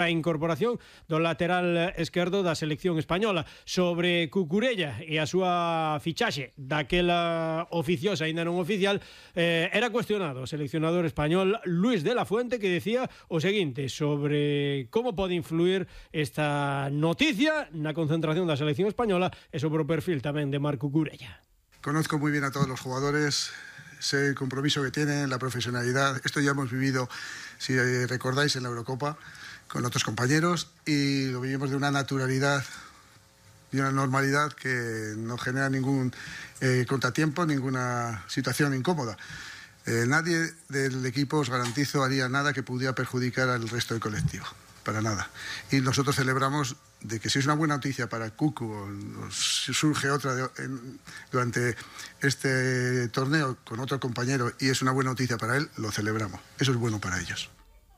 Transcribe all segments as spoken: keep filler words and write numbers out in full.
A incorporación do lateral esquerdo da selección española. Sobre Cucurella e a súa fichaxe daquela oficiosa, ainda non oficial, eh, era cuestionado o seleccionador español Luis de la Fuente, que decía o seguinte sobre como pode influir esta noticia na concentración da selección española e sobre o perfil tamén de Marc Cucurella. Conozco muy bien a todos los jugadores, sé el compromiso que tienen, la profesionalidad. Esto ya hemos vivido, si recordáis, en la Eurocopa con otros compañeros, y lo vivimos de una naturalidad y una normalidad que no genera ningún eh, contratiempo, ninguna situación incómoda. Eh, nadie del equipo, os garantizo, haría nada que pudiera perjudicar al resto del colectivo, para nada. Y nosotros celebramos de que si es una buena noticia para Cucu o si surge otra de, en, durante este torneo con otro compañero y es una buena noticia para él, lo celebramos. Eso es bueno para ellos.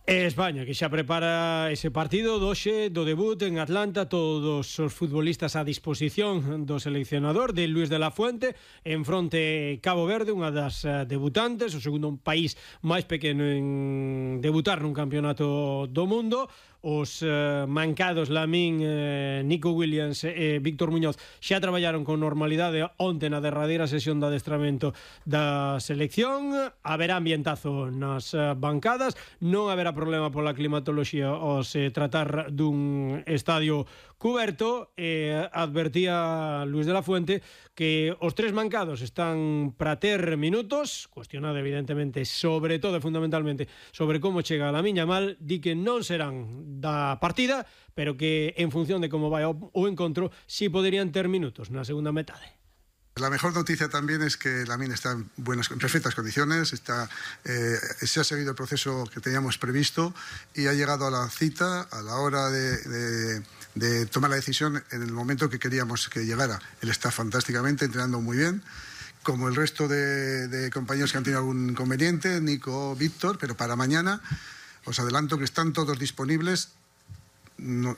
España, que xa prepara ese partido doxe do debut en Atlanta, todos os futbolistas a disposición do seleccionador de Luis de la Fuente, en fronte Cabo Verde, unha das debutantes, o segundo país máis pequeno en debutar nun campeonato do mundo. Os eh, mancados Lamín, eh, Nico Williams e eh, Víctor Muñoz xa traballaron con normalidade onte na derradeira sesión de adestramento da selección. Haberá ambientazo nas eh, bancadas, non haberá problema pola climatoloxía aos eh, tratar dun estadio cuberto. E eh, advertía Luis de la Fuente que os tres mancados están para ter minutos, cuestionado evidentemente sobre todo e fundamentalmente sobre como chega a Lamín Yamal. Di que non serán da partida, pero que en función de como vai o, o encontro si poderían ter minutos na segunda metade. La mejor noticia también es que Lamín está en, buenas, en perfectas condiciones, está, eh, se ha seguido el proceso que teníamos previsto y ha llegado a la cita a la hora de, de, de tomar la decisión en el momento que queríamos que llegara. Él está fantásticamente, entrenando muy bien, como el resto de, de compañeros que han tenido algún inconveniente, Nico, Víctor, pero para mañana os adelanto que están todos disponibles. No,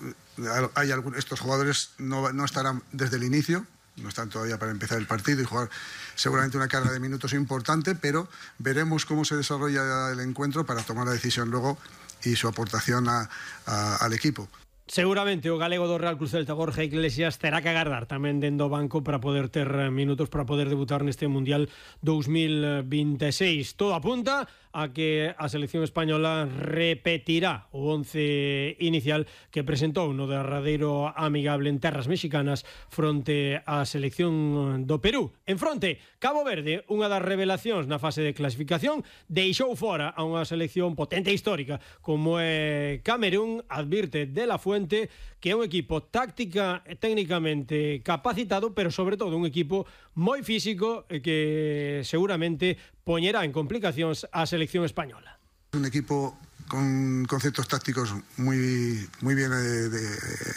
hay algún, estos jugadores no, no estarán desde el inicio, no están todavía para empezar el partido y jugar seguramente una carga de minutos importante, pero veremos cómo se desarrolla el encuentro para tomar la decisión luego y su aportación a, a, al equipo. Seguramente o galego do Real Cruz Celta, Borja Iglesias, terá que agardar tamén dentro do banco para poder ter minutos para poder debutar neste Mundial dos mil veintiséis. Todo apunta a que a selección española repetirá o once inicial que presentou no derradeiro amigable en terras mexicanas fronte á selección do Perú. En fronte, Cabo Verde, unha das revelacións na fase de clasificación, deixou fora a unha selección potente e histórica como é Camerún. Advirte de la Fuente que é un equipo táctica e técnicamente capacitado, pero sobre todo un equipo moi físico e que seguramente poñerá en complicacións a selección española. Un equipo con conceptos tácticos muy, muy bien eh, de,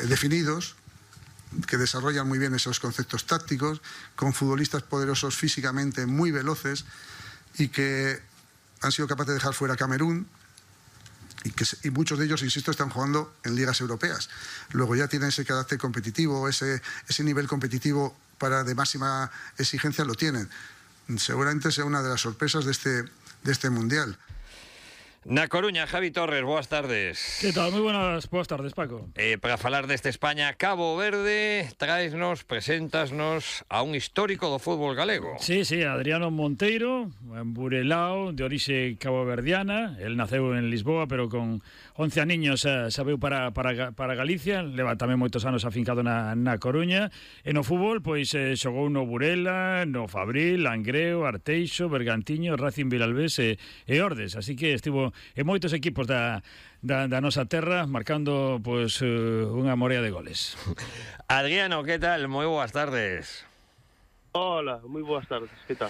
definidos, que desarrollan muy bien esos conceptos tácticos, con futbolistas poderosos físicamente, muy veloces, y que han sido capaces de dejar fuera a Camerún. Y, que, y muchos de ellos, insisto, están jugando en ligas europeas. Luego ya tienen ese carácter competitivo, ese, ese nivel competitivo para de máxima exigencia lo tienen. Seguramente sea una de las sorpresas de este, de este Mundial. Na Coruña, Javi Torres, boas tardes. Que tal? Moi buenas, boas tardes, Paco. Eh, para falar deste España-Cabo Verde, traesnos, preséntasnos a un histórico do fútbol galego. Sí, sí, Adriano Monteiro, en Burelao, de orixe caboverdiana. El naceu en Lisboa, pero con once aniños xa, xa veu para, para, para Galicia. Leva tamén moitos anos afincado na, na Coruña. E no fútbol, pois, eh, xogou no Burela, no Fabril, Langreo, Arteixo, Bergantiño, Racing Vilalbés e, e Ordes. Así que estivo e moitos equipos da, da, da nosa terra marcando pois uh, unha morea de goles. Adriano, que tal? Moi boas tardes. Hola, moi boas tardes, que tal?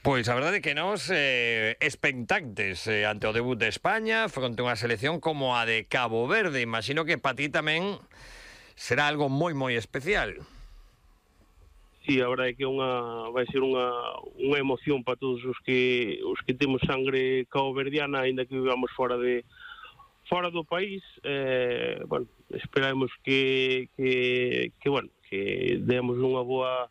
Pois a verdade é que nos eh, expectantes eh, ante o debut de España fronte a unha selección como a de Cabo Verde. Imagino que para ti tamén será algo moi moi especial. Sí, a verdade é que unha, vai ser unha, unha emoción para todos os que os que temos sangre caboverdiana, aínda que vivamos fora de fora do país. Eh, bueno, esperamos que, que, que bueno, que demos unha boa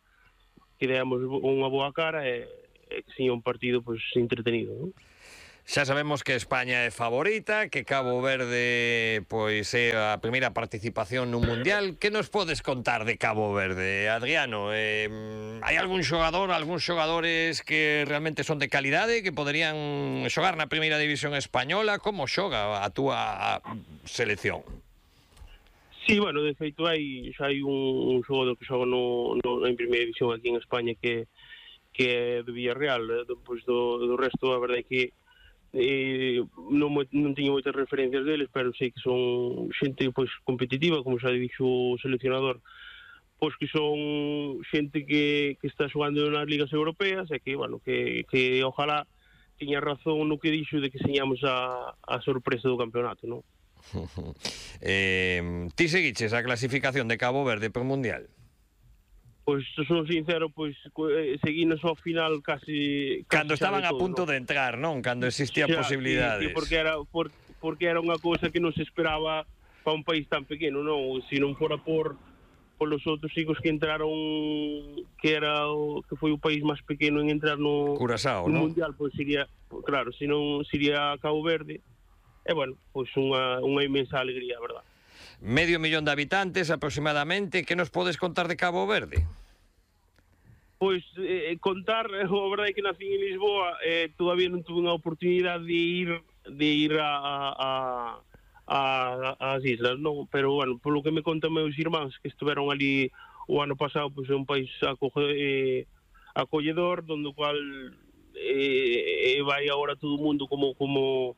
que demos unha boa cara e, e que seña un partido pois entretenido, non? Xa sabemos que España é favorita, que Cabo Verde pois é a primeira participación nun Mundial. Que nos podes contar de Cabo Verde, Adriano? Eh, hai algún xogador, algúns xogadores que realmente son de calidade, que poderían xogar na primeira división española? Como xoga a túa selección? Sí, bueno, de feito hai xa hai un, un xogador que xoga no, no, en primeira división aquí en España que que é de Villarreal. Depois do, do resto, a verdade é que eh, non, non teño moitas referencias deles, pero sei que son xente pois competitiva, como xa dixo o seleccionador, pois que son xente que, que está xogando nas ligas europeas e que, bueno, que, que ojalá tiña razón no que dixo de que señamos a, a sorpresa do campeonato, non? eh, ti seguiches a clasificación de Cabo Verde para o Mundial? Pois, son sincero, pois seguinos ao final casi... Cando casi estaban todo, a punto ¿no? de entrar, non? Cando existían Xa, posibilidades. Sí, sí, porque era por, porque era unha cousa que non se esperaba para un país tan pequeno, non? Se non fora por polos outros chicos que entraron, que era o, que foi o país máis pequeno en entrar no, Curazao, no non? Mundial, pois sería, claro, se non sería Cabo Verde. E, bueno, pois unha, unha inmensa alegría, a verdad. Medio millón de habitantes aproximadamente. Que nos podes contar de Cabo Verde? Pois eh, contar, a verdade é que nací en Lisboa, eh, todavía non tuve unha oportunidade de ir de ir a, a, a, a as islas, non? Pero, bueno, polo que me contan meus irmáns que estiveron ali o ano pasado, pois é un país acoge, eh, acolledor, donde o cual eh, eh, vai agora todo o mundo como como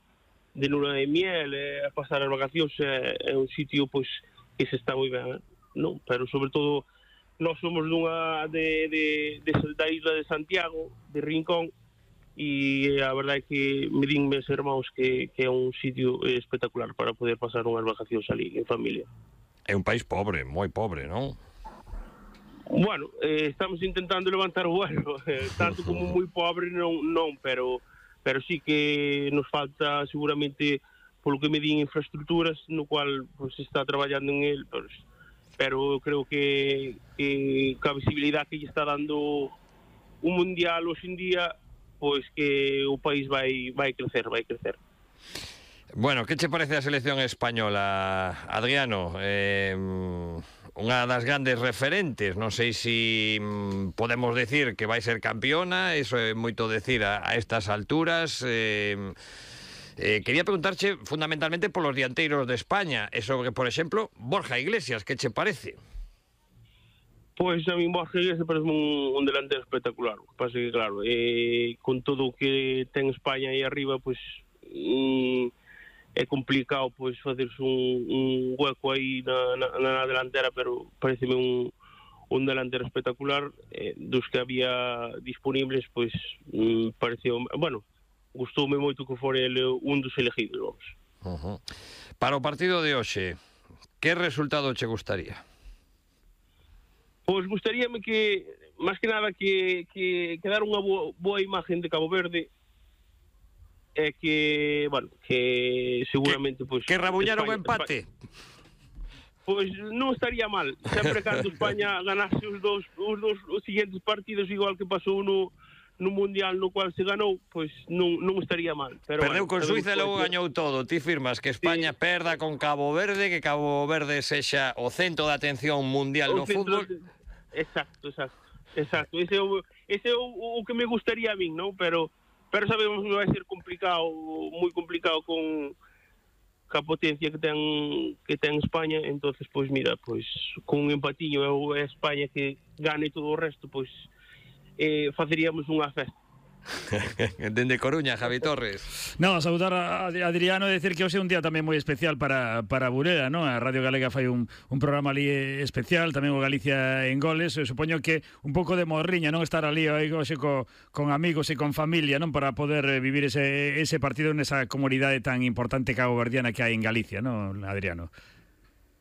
de luna de miel, eh, a pasar as vacacións. É, é un sitio pois que se está moi ben, eh? Non? Pero sobre todo nós somos dunha de, de, de, da isla de Santiago, de Rincón, e a verdade é que me din meus irmãos que, que é un sitio espectacular para poder pasar unhas vacacións ali en familia. É un país pobre, moi pobre, non? Bueno, eh, estamos intentando levantar o vuelo, eh, tanto como moi pobre non, non, pero pero sí que nos falta seguramente, polo que me din, infraestructuras, no cual pues, se está traballando en el, pues, pero creo que, que a visibilidade que lle está dando un mundial hoxe en día, pois que o país vai vai crecer, vai crecer. Bueno, que che parece a selección española, Adriano? Eh, unha das grandes referentes, non sei se si podemos decir que vai ser campeona, eso é moito decir a, a estas alturas. Eh, eh, quería preguntarche fundamentalmente polos dianteiros de España, e sobre, por exemplo, Borja Iglesias, que che parece? Pois a mí Borja Iglesias parece un, un delantero espectacular. O que pasa que, claro, eh, con todo o que ten España aí arriba, pois... Mm, é complicado pois facerse un, un hueco aí na, na, na delantera, pero pareceme un, un delantero espectacular. Eh, dos que había disponibles, pois mm, pareceu, bueno, gustoume moito que fora ele un dos elegidos, vamos. Uh-huh. Para o partido de hoxe, que resultado che gustaría? Pois gustaríame que, máis que nada, que, que, que dar unha boa, boa imagen de Cabo Verde, é que, bueno, que seguramente... Que, pues, que rabuñaron o España, empate? España, pois non estaría mal. Sempre cando España ganase os dous, os dous os siguientes partidos, igual que pasou no, no Mundial no cual se ganou, pois non, non estaría mal. Pero, Perdeu bueno, con Suiza e logo gañou todo. Ti firmas que España sí. perda con Cabo Verde, que Cabo Verde sexa o centro de atención mundial no fútbol. De... Exacto, exacto. Exacto. Ese é o, ese é o, o que me gustaría a min, non? Pero pero sabemos que vai ser complicado, moi complicado con ca potencia que ten que ten España. Entonces, pois mira, pois con un empatiño é España que gane todo o resto, pois eh, faceríamos unha festa. Dende Coruña, Javi Torres. No, saudar a Adriano e decir que hoxe é un día tamén moi especial para, para Burela, non? A Radio Galega fai un, un programa ali especial, tamén o Galicia en Goles. Eu supoño que un pouco de morriña, non? Estar ali hoxe co, con amigos e con familia, non? Para poder vivir ese, ese partido nesa comunidade tan importante caboverdiana que hai en Galicia, non, Adriano?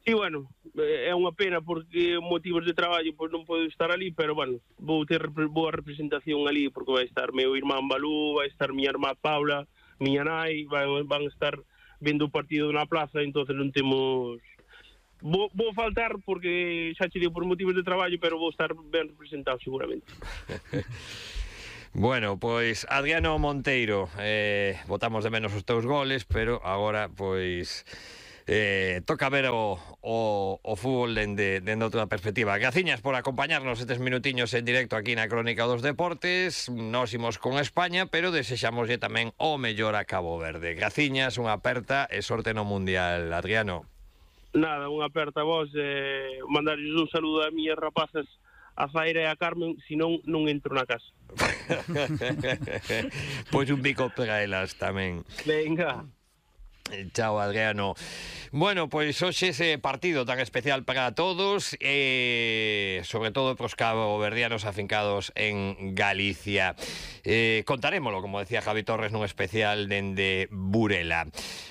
Sí, bueno, é unha pena porque motivos de traballo pois non podo estar ali, pero bueno, vou ter boa representación ali porque vai estar meu irmán Balú, vai estar miña irmá Paula, miña nai, van, van estar vendo o partido na plaza, entonces non temos... Vou, vou faltar porque xa che digo por motivos de traballo, pero vou estar ben representado seguramente. Bueno, pois Adriano Monteiro, eh, botamos de menos os teus goles, pero agora pois eh, toca ver o, o, o fútbol dende, dende outra perspectiva. Graciñas por acompañarnos estes minutiños en directo aquí na Crónica dos Deportes. Nos imos con España, pero desexamoslle tamén o mellor a Cabo Verde. Graciñas, unha aperta e sorte no Mundial, Adriano. Nada, unha aperta a vos, eh, mandarles un saludo a miñas rapazas, a Zaira e a Carmen, senón non entro na casa. Pois un bico para elas tamén. Venga. Chao, Adriano. Bueno, pois hoxe ese partido tan especial para todos e eh, sobre todo pros caboverdianos afincados en Galicia. Eh, contarémolo, como decía Javi Torres, nun especial dende Burela.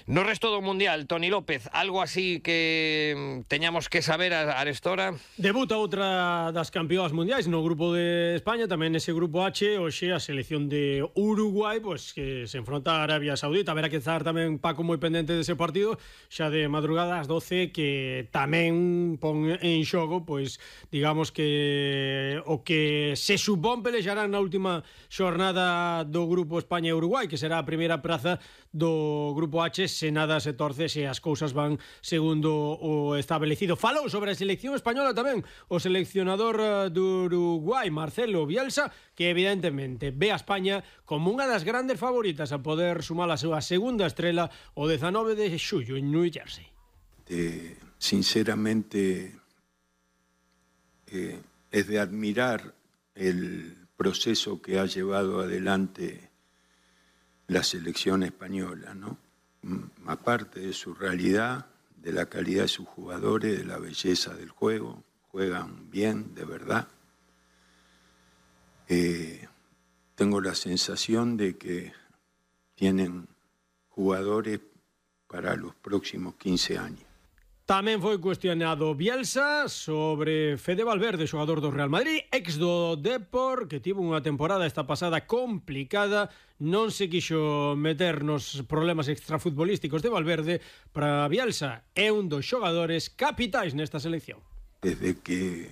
No resto do Mundial, Toni López, algo así que teñamos que saber a arestora? Debuta outra das campeoas mundiais no grupo de España, tamén ese grupo H, hoxe a selección de Uruguai, pois que se enfronta a Arabia Saudita. Haberá que estar tamén Paco moi pendente dese partido, xa de madrugada ás doce, que tamén pon en xogo, pois digamos que o que se supón pelexarán na última xornada do grupo España e Uruguai, que será a primeira praza do grupo H, se nada se torce, se as cousas van segundo o establecido. Falou sobre a selección española tamén o seleccionador do Uruguai, Marcelo Bielsa, que evidentemente ve a España como unha das grandes favoritas a poder sumar a súa segunda estrela o dezanove de xullo en New Jersey. Eh, sinceramente eh, es de admirar el proceso que ha llevado adelante la selección española, ¿no? Aparte de su realidad, de la calidad de sus jugadores, de la belleza del juego, juegan bien, de verdad. Eh, tengo la sensación de que tienen jugadores para los próximos quince años. Tamén foi cuestionado Bielsa sobre Fede Valverde, xogador do Real Madrid, ex do Depor, que tivo unha temporada esta pasada complicada, non se quixo meter nos problemas extrafutbolísticos de Valverde. Para Bielsa é un dos xogadores capitais nesta selección. Desde que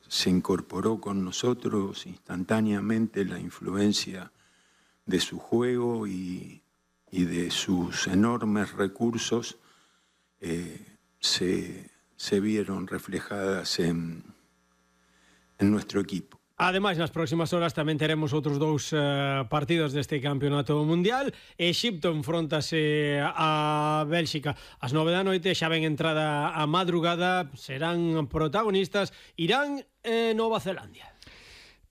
se incorporó con nosotros instantáneamente la influencia de su juego y, y de sus enormes recursos eh, Se, se vieron reflejadas en, en nuestro equipo. Ademais, nas próximas horas tamén teremos outros dous uh, partidos deste campeonato mundial. Exipto enfrontase a Bélxica ás nove da noite, xa ven entrada a madrugada, serán protagonistas Irán e Nova Zelandia.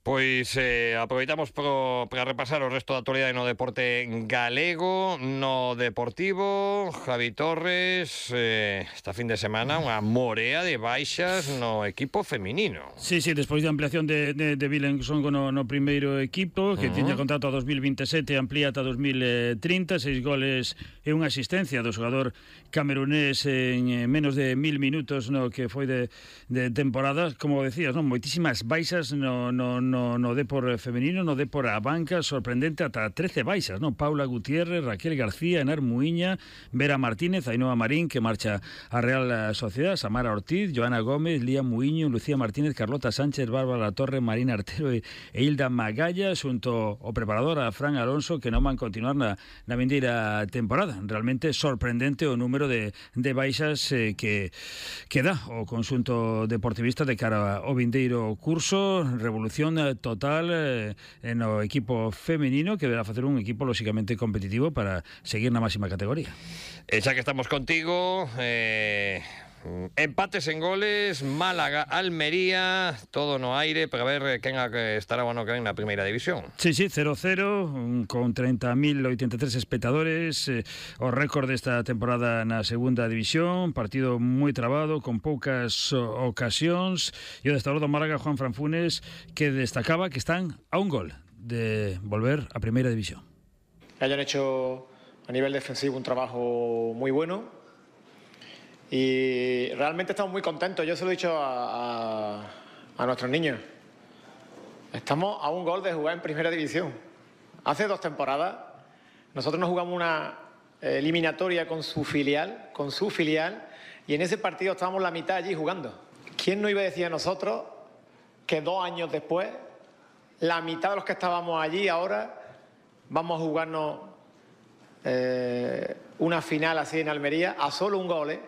Pois eh, aproveitamos pro, para repasar o resto da actualidade no deporte galego, no Deportivo. Javi Torres, eh, esta fin de semana unha morea de baixas no equipo feminino. Sí, sí, despois da ampliación de, de, de Vilensongo no, no primeiro equipo, que uh -huh. tiña contrato a dos mil veintisiete, amplía ata dos mil trinta, seis goles e unha asistencia do xogador camerunés en eh, menos de mil minutos no que foi de, de temporada. Como decías, non, moitísimas baixas no, no, no No, no Depor femenino, no Depor a banca, sorprendente, ata trece baixas, non? Paula Gutiérrez, Raquel García, Enar Muiña, Vera Martínez, Ainhoa Marín, que marcha a Real Sociedad, Samara Ortiz, Joana Gómez, Lía Muiño, Lucía Martínez, Carlota Sánchez, Bárbara Torre, Marina Artero e, e Hilda Magalla, xunto o preparador a Fran Alonso, que non van continuar na, na vindeira temporada. Realmente sorprendente o número de, de baixas eh, que, que dá o conxunto deportivista de cara ao vindeiro curso. Revolución total eh, no equipo femenino, que deberá facer un equipo lógicamente competitivo para seguir na máxima categoría. E xa que estamos contigo, eh, empates en goles, Málaga, Almería, todo no aire para ver quen estará o ano que ven na primeira división. Sí, sí, cero cero, con treinta mil ochenta e tres espectadores, eh, o récord desta temporada na segunda división, partido moi trabado, con poucas ocasións, e o destador do Málaga, Juan Franfunes, que destacaba que están a un gol de volver a primeira división. Hayan hecho a nivel defensivo un trabajo muy bueno y realmente estamos muy contentos. Yo se lo he dicho a, a, a nuestros niños. Estamos a un gol de jugar en primera división. Hace dos temporadas nosotros nos jugamos una eliminatoria con su filial, con su filial, y en ese partido estábamos la mitad allí jugando. ¿Quién nos iba a decir a nosotros que dos años después la mitad de los que estábamos allí ahora vamos a jugarnos eh, una final así en Almería a solo un gol, ¿eh?